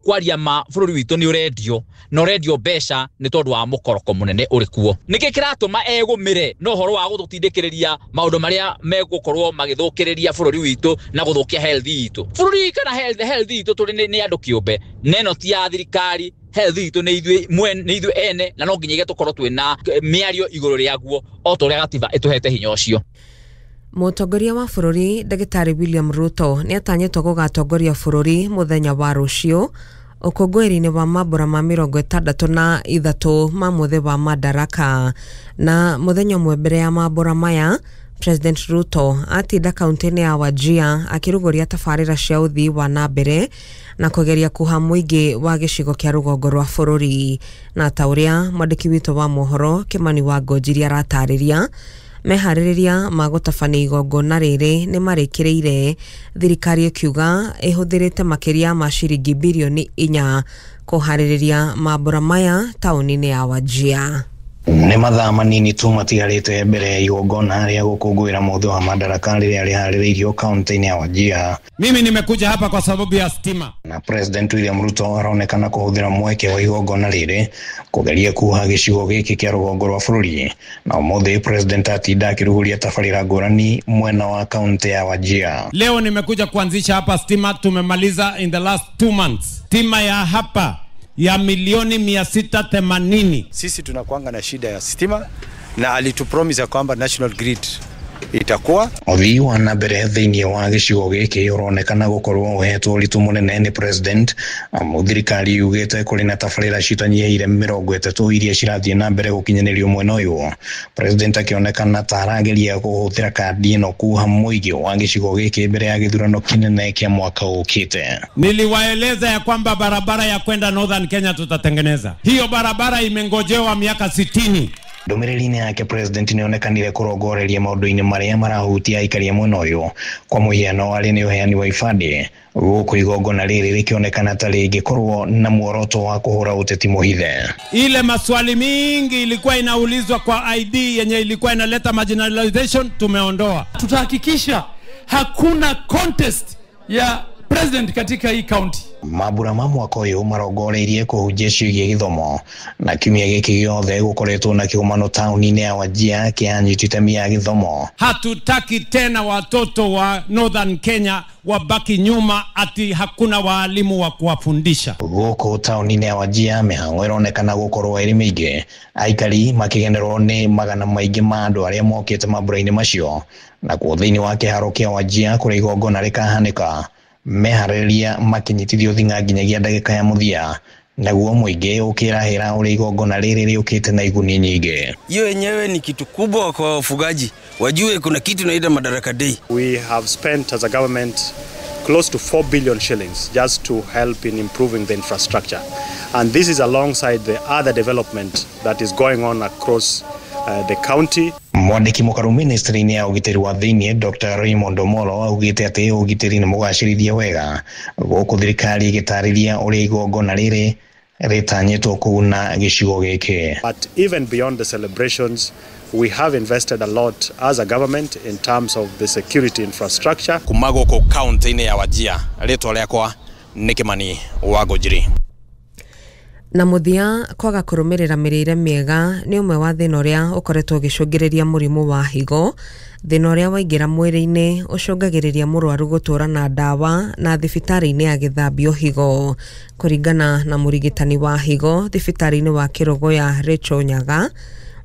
Kwaria ma bũrũri witũ nĩ ũrendio na ũrendio mbeca nĩ tondũ wa mũkoroko mũnene ũrĩ kuo. Nĩkĩ kĩratũma egũmĩre na ũhoro wa gũtũtindĩkĩrĩria maũndũ marĩa megũkorwo magĩthũkĩrĩria bũrũri witũ na gũthũkia health itũ? Bũrũri kana health itũ tũrĩ nĩ andũ kĩũmbe, na ĩno ti ya thirikari. Health itũ nĩ ithuĩ mwene, nĩ ithuĩ ene, na no nginyagia tũkorwo twĩna mĩario igũrũ rĩaguo o ta ũrĩa gatiba ĩtũhete hinya ũcio. Mũtongoria wa bũrũri Ndagĩtarĩ William Ruto nĩ atanyĩtwo gũgatongoria bũrũri mũthenya wa rũciũ ũkũngũĩri-inĩ wa mambũra ma 63 ma mũthĩ wa Madaraka. Na mũthenya ũmwe mbere ya mambũra maya, President Ruto atinda kaunti-inĩ ya Wajir akĩrugũria tabarĩra cia ũthii wa na mbere na kũgeria kũha mũingĩ wa gĩcigo kĩa rũgongo rwa bũrũri. Na ta ũrĩa mwandĩki witũ wa mohoro Kimani wa Ngonjiri aratarĩria, meharĩrĩria ma gũtabania igongona rĩrĩ nĩ marĩkĩrĩire, thirikari ĩkiuga ĩhũthĩrĩte makĩria ma ciringi birioni 4 kũharĩrĩria mambũra maya taũni-inĩ ya Wajir. Nĩ mathaa manini tu matigarĩte mbere ya igongona rĩa gũkũngũĩra mũthĩ wa Madaraka rĩrĩa rĩharĩrĩirio kaunti-inĩ ya Wajir. Mimi nimekuja hapa kwa sababu ya stima. Na President William Ruto aronekana kũhũthĩra mweke wa igongona rĩrĩ kũgeria kuha gĩcigo gĩkĩ kĩa rũgongo rwa bũrũri. Na ũmũthĩ President atinda akĩrugũria tabarĩra ngũrani mwena wa kaunti ya Wajir. Leo nimekuja kuanzisha hapa stima, tumemaliza in the last 2 months. Stima ya hapa ya milioni 680. Sisi tunakuanga na shida ya stima na alitupromise kwamba national grid itakuwa. Ũthii wa na mbere thĩinĩ wa gĩcigo gĩkĩ ũronekana gũkorwo ũhetwo ũritũ mũnene nĩ President, amu thirikari yugĩte kũrĩ na tabarĩra citanyihĩire 30 iria cirathiĩ na mbere gũkinyanĩrio mwena ũyũ. President akĩonekana ta arageria kũhũthĩra kandi ĩno kuha mũingĩ wa gĩcigo gĩkĩ mbere ya gĩthurano kĩnene kĩa mwaka ũkĩte. Niliwaeleza ya kwamba barabara ya kwenda Northern Kenya tutatengeneza. Hiyo barabara imengojewa miaka 60. Ndũmĩrĩri-inĩ yake President nĩonekanire kũrongoreria maũndũ-inĩ marĩa marahutia aikari a mwena ũyũ, kwa mũhiano arĩ nĩ ũheani wa ibandĩ, gũkũ igongona rĩrĩ rĩkĩonekana ta rĩngĩkorwo na muoroto wa kũhũra ũteti mũhithe. Ile maswali mingi ilikuwa inaulizwa kwa ID yenye ilikuwa inaleta marginalization tumeondoa. Tutahakikisha hakuna contest ya president katika hii county. Mambura ma mwaka ũyũ marongoreirie kũhunjia ciĩgiĩ gĩthomo, na kiumia gĩkĩ gĩothe gũkoretwo na kĩgomano taũni-inĩ ya Wajir kĩa anyiti itemi ya gĩthomo. Hatutaki tena watoto wa Northern Kenya wabaki nyuma ati hakuna waalimu wa kuwafundisha. Gũkũ taũni-inĩ ya Wajir mĩhang'o ĩronekana gũkorwo ĩrĩ mĩingĩ, aikari makĩgenerwo nĩ magana maingĩ ma andũ arĩa mokĩte mambura-inĩ macio. Nakuo thĩinĩ wa kĩharo kĩa Wajir kũrĩa igongona rĩkahanĩka, meharĩrĩria makinyitithio thing'a nginyagia ndagĩka ya mũthia, naguo mũingĩ ũkĩrahĩra ũrĩa igongona rĩrĩ rĩũkĩte na iguni nyingĩ. Hiyo yenyewe ni kitu kubwa kwa wafugaji, wajue kuna kitu inaitwa Madaraka Day. We have spent as a government close to 4 billion shillings just to help in improving the infrastructure, and this is alongside the other development that is going on across the county. Mwandĩki mũkaru ministry-inĩ ya ũgitĩri wa thĩinĩ Dr. Raymond Omolo augĩte atĩ ũgitĩri nĩ mũgacĩrithie wega, gũkũ thirikari ĩgĩtarĩria ũrĩa igongona rĩrĩ rĩtanyĩtwo kũguna gĩcigo gĩkĩ. But even beyond the celebrations, we have invested a lot as a government in terms of the security infrastructure. Kuma gũkũ kaunti-inĩ ya Wajir, rĩtwa rĩakwa nĩ Kimani wa Ngũnjiri. Na mũthia, kwaga kũrũmĩrĩra mĩrĩre mĩega nĩ ũmwe wa thĩna ũrĩa ũkoretwo ũgĩcũngĩrĩria mũrimũ wa higo. Thĩna ũrĩa waingĩra mwĩrĩ-inĩ ũcũngagĩrĩria mũrwaru gũtũra na ndawa na thibitarĩ-inĩ agĩthambio higo. Kũringana na mũrigitani wa higo thibitarĩ-inĩ wa Kĩrũgũya Rachel Nyaga,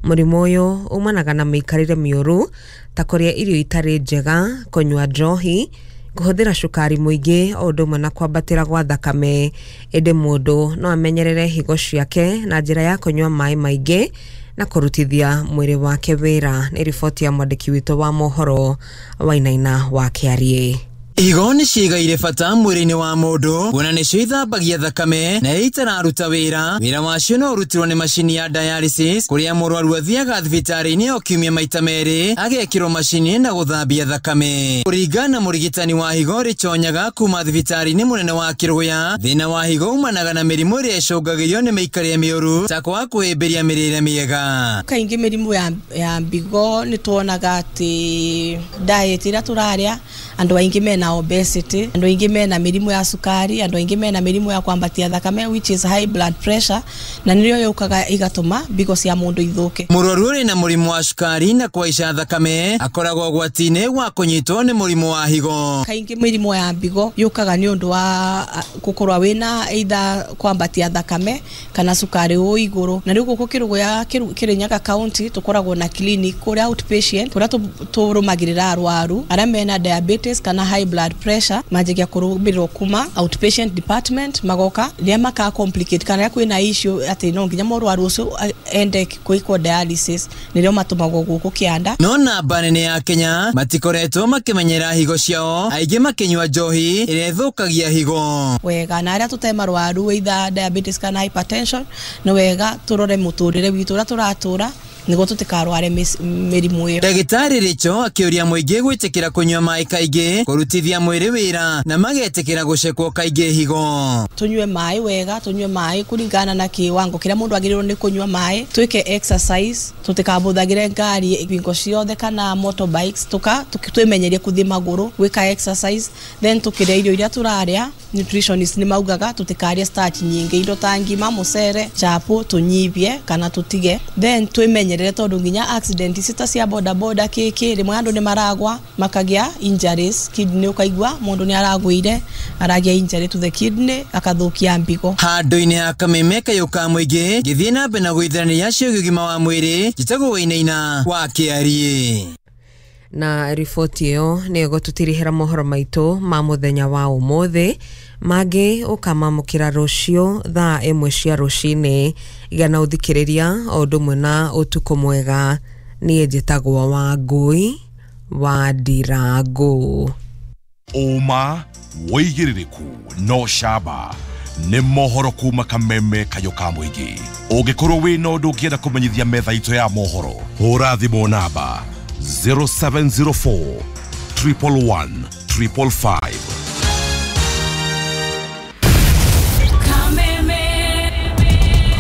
mũrimũ ũyũ umanaga na mĩikarĩre mĩũru ta kũrĩa irio itarĩ njega, kũnyua njohi, kũhũthĩra cukari mũingĩ o ũndũ ũmwe na kwambatĩra gwa thakame. Ĩndĩ mũndũ no amenyerere higo ciake na njĩra ya kũnyua maĩ maingĩ na kũrutithia mwĩrĩ wake wĩra. Nĩ riboti ya mwandĩki witũ wa mohoro Wainaina wa Kĩariĩ. Higo nĩ ciĩgaire bata mwĩrĩ-inĩ wa mũndũ, kuona nĩcio ithambagia thakame na itararuta wĩra. Wĩra wacio no ũrutirwo nĩ macini ya dialysis, kũrĩa mũrwaru athiaga thibitarĩ-inĩ o kiumia maita merĩ agekĩrwo macini na gũthambia thakame. Kũringana na mũrigitani wa higo Rachel Nyaga kuma thibitarĩ-inĩ mũnene wa Kĩrũgũya, thĩna wa higo umanaga na mĩrimũ ĩrĩa ĩcũngagĩrĩrio nĩ mĩikarĩre mĩũru ta kwaga kũhĩmbĩria mĩrĩre mĩega. Kaingĩ mĩrimũ ya mbigo nĩ tuonaga atĩ diet ĩrĩa tũrarĩa andũ aingĩ mena mena obesity, andu aingi mena mirimu ya sukari, andu aingi mena mirimu ya kwambatia thakame which is high blood pressure, na niyo yukaga igatuma mbigo cia mundu ithuke. Mũrwaru ũrĩ na mũrimũ wa cukari na kũhaica thakame akoragwo ũgwati-inĩ wa kũnyitwo nĩ mũrimũ wa higo. Kaingĩ mĩrimũ ya mbigo yũkaga nĩ ũndũ wa gũkorwo wĩna either kwambatia thakame kana cukari wĩ igũrũ. Na rĩu gũkũ Kĩrũgũya Kĩrĩnyaga county tũkoragwo na clinic kũrĩa outpatient kũrĩa tũrũmagĩrĩra arwaru arĩa mena diabetes kana high blood pressure, manjagia kũrũmĩrĩrwo kuma outpatient department magoka rĩrĩa maka complicate kana rĩrĩa kwĩna issue atĩ no nginya mũrwaru ũcio ende kwĩkwo dialysis nĩrĩo matũmagwo gũkũ kĩanda. No namba nene ya Kenya matikoretwo makĩmenyera higo ciao, aingĩ makĩnyua njohi ĩrĩa ĩthũkagia higo. Wega na arĩa tũte marwaru either diabetes kana hypertension nĩ wega tũrore mũtũrĩre witũ ũrĩa tũratũra nĩguo tũtikarware mĩrimũ ĩyo. Ndagĩtarĩ Rĩcho akĩũria mũingĩ gwĩtĩkĩra kũnyua maĩ kaingĩ, kũrutithia mwĩrĩ wĩra na magetĩkĩra gũcekwo kaingĩ higo. Tũnyue maĩ wega, tũnyue maĩ kũringana na kĩwango kĩrĩa mũndũ agĩrĩirwo nĩ kũnyua maĩ, twĩke exercise, tũtikabũthagĩre ngari hingo ciothe kana motorbikes, twĩmenyerie kũthiĩ magũrũ, gwĩka exercise, then tũkĩrĩa irio iria tũrarĩa. Nutritionist nĩ maugaga tũtikarĩe starch nyingĩ, indo ta ngima, mũcere, chapo tũnyibie kana tũtige, then twĩmenyerere tondũ nginya accident ici ta cia boda boda kĩkĩ rĩmwe andũ nĩ maragwa makagĩa injuries kidney, ũkaigua mũndũ nĩ aragwĩire aragĩa injury to the kidney akathũkia mbigo. Handũ-inĩ ha Kameme kayũ ka mũingĩ ngĩthiĩ na mbere na gũithanĩria ciĩgiĩ ũgima wa mwĩrĩ, njĩtagwo Wainaina wa Kĩariĩ. Na riboti ĩyo nĩ ĩgũtũtirihĩra mohoro maitũ ma mũthenya wa ũmũthĩ, mangĩ ũkamamũkĩra rũciũ thaa 1 cia rũcinĩ. Gĩa na ũthikĩrĩria o ũndũ ũmwe na ũtukũ mwega. Niĩ njĩtagwo Wangũi wa Ndirangũ. Ũma wĩigĩrĩrĩku no camba nĩ mohoro kuma Kameme kayũ ka mũingĩ. Ũngĩkorwo wĩna ũndũ ũngĩenda kũmenyithia metha itũ ya mohoro, hũra thimũ namba 0704 111 555.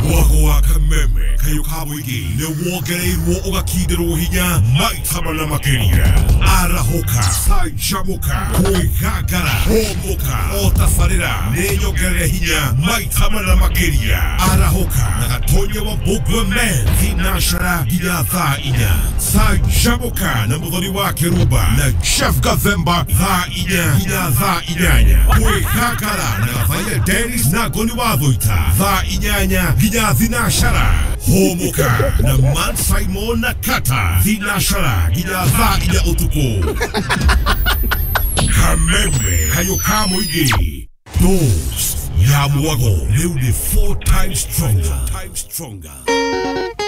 Mwago wa Kameme kayũ ka mũingĩ nĩ wongereirwo ũgakindĩrwo hinya maita mana makĩria. Arahũka, canjamũka, kwĩgangara, hũmũka, o tabarĩra nĩ nyongerere hinya maita mana makĩria. Arahũka na Gatonya wa Mbũgua Men thinashara nginya thaa 4. Canjamũka na Mũthoni wa Kĩrumba na Chef Gathemba thaa 4 nginya thaa 8. Kwĩgangara na Gathaia Dennis na Ngoni wa Thũita thaa 8 nginya thinashara. Hũmũka na Man Simon na Kata thinashara nginya thaa 4 ũtukũ. Kameme kayũ ka mũingĩ. Dose ya mwago rĩu nĩ 4 times stronger.